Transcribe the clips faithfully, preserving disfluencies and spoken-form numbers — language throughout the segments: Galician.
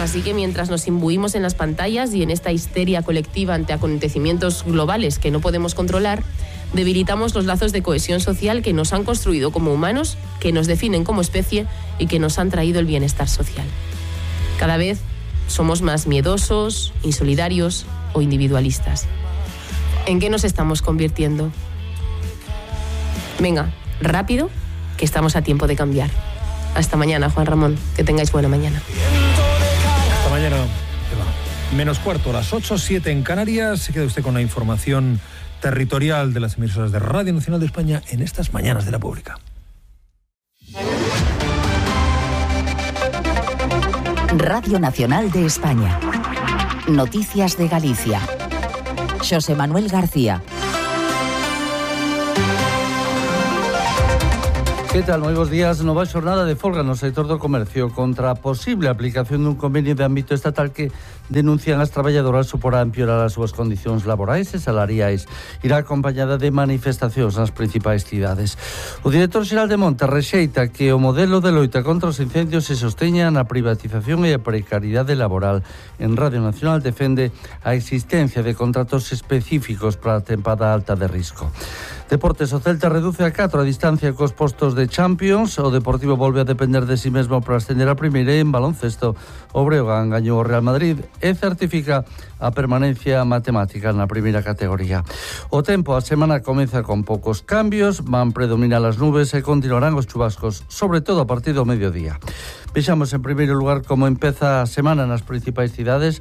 Así que mientras nos imbuimos en las pantallas y en esta histeria colectiva ante acontecimientos globales que no podemos controlar, debilitamos los lazos de cohesión social que nos han construido como humanos, que nos definen como especie y que nos han traído el bienestar social. Cada vez somos más miedosos, insolidarios o individualistas. ¿En qué nos estamos convirtiendo? Venga, rápido, que estamos a tiempo de cambiar. Hasta mañana, Juan Ramón. Que tengáis buena mañana. Hasta mañana. Menos cuarto, las ocho, siete en Canarias. Se queda usted con la información territorial de las emisoras de Radio Nacional de España en estas mañanas de la pública. Radio Nacional de España. Noticias de Galicia. Xosé Manuel García. Que tal? Moi bons días. Nova xornada de folga no sector do comercio contra a posible aplicación dun convenio de ámbito estatal que denuncian as traballadoras suporá empeorar as súas condicións laborais e salariais. Irá acompañada de manifestacións nas principais cidades. O director xeral de Monte rexeita que o modelo de loita contra os incendios se sosteña na privatización e a precariedade laboral. En Radio Nacional defende a existencia de contratos específicos para a tempada alta de risco. Deportes, o Celta reduce a catro a distancia cos postos de Champions. O Deportivo volve a depender de si mesmo para ascender a primeira e en baloncesto o Breogán gañou o Real Madrid e certifica a permanencia matemática na primeira categoría. O tempo, a semana comeza con poucos cambios, van predominar as nubes e continuarán os chubascos, sobre todo a partir do mediodía. Vexamos en primeiro lugar como empeza a semana nas principais cidades.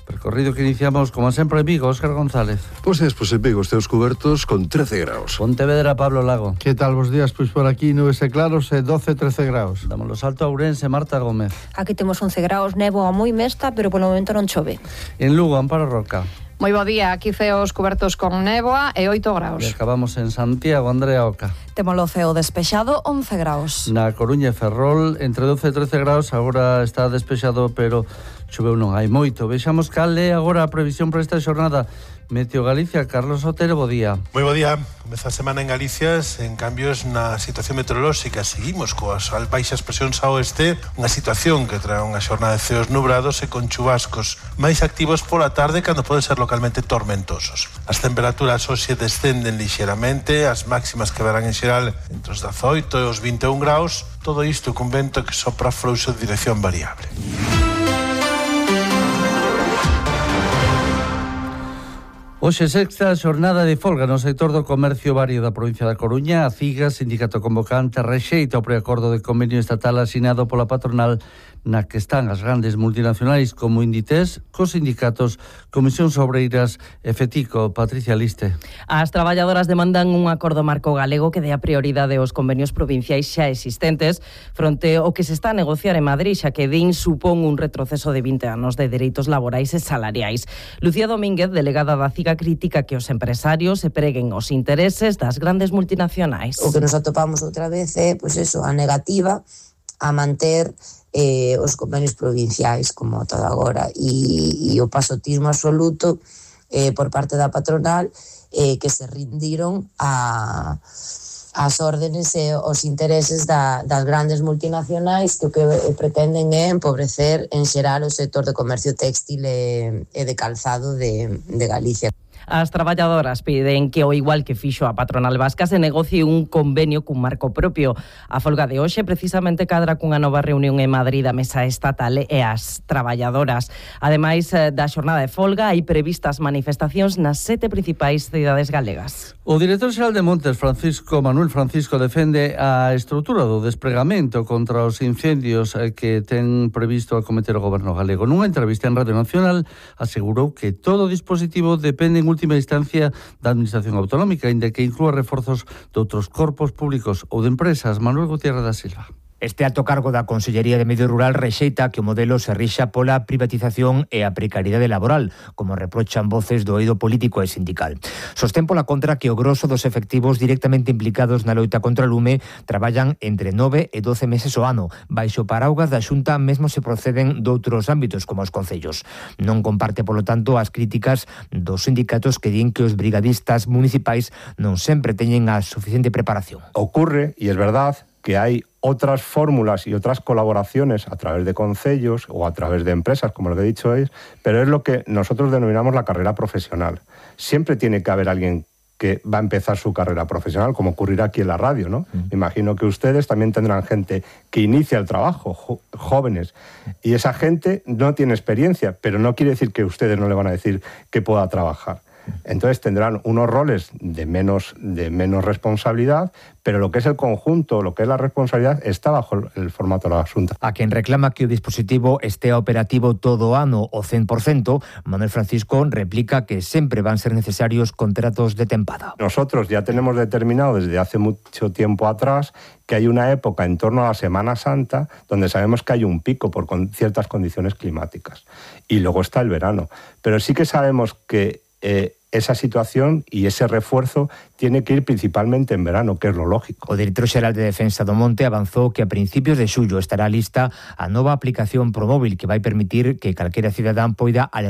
Percorrido que iniciamos, como sempre, en Vigo. Óscar González. Pois despois en Vigo, esteos cubertos con trece graus. Pontevedra, Pablo Lago. Que tal vos días? Pois por aquí nubes e claros e doce, trece graus. Damos o salto a Ourense, Marta Gómez. Aquí temos once graus, néboa moi mesta, pero polo momento non chove. En Lugo, Amparo Roca. Moi bo día, aquí ceos cubertos con néboa e oito graus. E acabamos en Santiago, Andrea Oca. Temos o ceo despexado, once graus. Na Coruña e Ferrol, entre doce e trece graus, agora está despexado, pero choveu non hai moito. Vexamos cal é agora a previsión para esta xornada. Meteo Galicia, Carlos Otero, bo día. Moi bo día. Comeza a semana en Galicia en cambios na situación meteorolóxica. Seguimos coas baixas presións ao oeste, unha situación que trae unha xornada de ceos nubrados e con chubascos máis activos pola tarde cando pode ser localmente tormentosos. As temperaturas hoxe descenden lixeramente, as máximas que verán en xeral entre os dezaoito e os vinte e un graus, todo isto cun vento que sopra frouxo de dirección variable. Hoxe sexta xornada de folga no sector do comercio vario da provincia da Coruña. A CIGA, sindicato convocante, rexeita o preacordo de convenio estatal asinado pola patronal na que están as grandes multinacionais como Inditex, cos sindicatos Comisións Obreiras e FETICO. Patricia Liste. As traballadoras demandan un acordo marco galego que dé a prioridade aos convenios provinciais xa existentes fronte ao que se está a negociar en Madrid, xa que din supón un retroceso de vinte anos de dereitos laborais e salariais. Lucía Domínguez, delegada da CIGA, crítica que os empresarios se preguen os intereses das grandes multinacionais. O que nos atopamos outra vez é, pois eso, a negativa a manter eh, os convenios provinciais como todo agora e, e o pasotismo absoluto eh, por parte da patronal eh, que se rindiron a as órdenes e os intereses da, das grandes multinacionais que o que pretenden é empobrecer en xeral o sector de comercio téxtil e, e de calzado de, de Galicia. As traballadoras piden que, ao igual que fixo a patronal vasca, se negocie un convenio cun marco propio. A folga de hoxe precisamente cadra cunha nova reunión en Madrid da Mesa Estatal e as traballadoras. Ademais da xornada de folga, hai previstas manifestacións nas sete principais cidades galegas. O director xeral de Montes, Francisco Manuel Francisco, defende a estrutura do despregamento contra os incendios que ten previsto acometer o goberno galego. Nunha entrevista en Radio Nacional asegurou que todo o dispositivo depende en última instancia da Administración Autonómica, inda que inclúa reforzos de outros corpos públicos ou de empresas. Manuel Gutiérrez da Silva. Este alto cargo da Consellería de Medio Rural rexeita que o modelo se rixa pola privatización e a precariedade laboral, como reprochan voces do eido político e sindical. Sostén pola contra que o grosso dos efectivos directamente implicados na loita contra o lume traballan entre nove e doce meses ao ano. Baixo paraugas da Xunta mesmo se proceden doutros ámbitos como os concellos. Non comparte, polo tanto, as críticas dos sindicatos que din que os brigadistas municipais non sempre teñen a suficiente preparación. Ocurre, e es verdad, que hay otras fórmulas y otras colaboraciones a través de concellos o a través de empresas, como lo que he dicho es, pero es lo que nosotros denominamos la carrera profesional. Siempre tiene que haber alguien que va a empezar su carrera profesional, como ocurrirá aquí en la radio, ¿no? Mm. Me imagino que ustedes también tendrán gente que inicia el trabajo, jo- jóvenes, y esa gente no tiene experiencia, pero no quiere decir que ustedes no le van a decir que pueda trabajar. Entonces tendrán unos roles de menos, de menos responsabilidad, pero lo que es el conjunto, lo que es la responsabilidad, está bajo el formato da Xunta. A quen reclama que o dispositivo estea operativo todo o ano o cen por ciento, Manuel Francisco replica que sempre van ser necesarios contratos de tempada. Nosotros ya tenemos determinado desde hace mucho tiempo atrás que hay una época en torno a la Semana Santa donde sabemos que hay un pico por con ciertas condiciones climáticas. Y luego está el verano. Pero sí que sabemos que eh, esa situación y ese refuerzo tiene que ir principalmente en verano, que es lo lógico. O director xeral de Defensa do Monte avanzou que a principios de xullo estará lista a nova aplicación Promóvil que vai permitir que calquera cidadán poida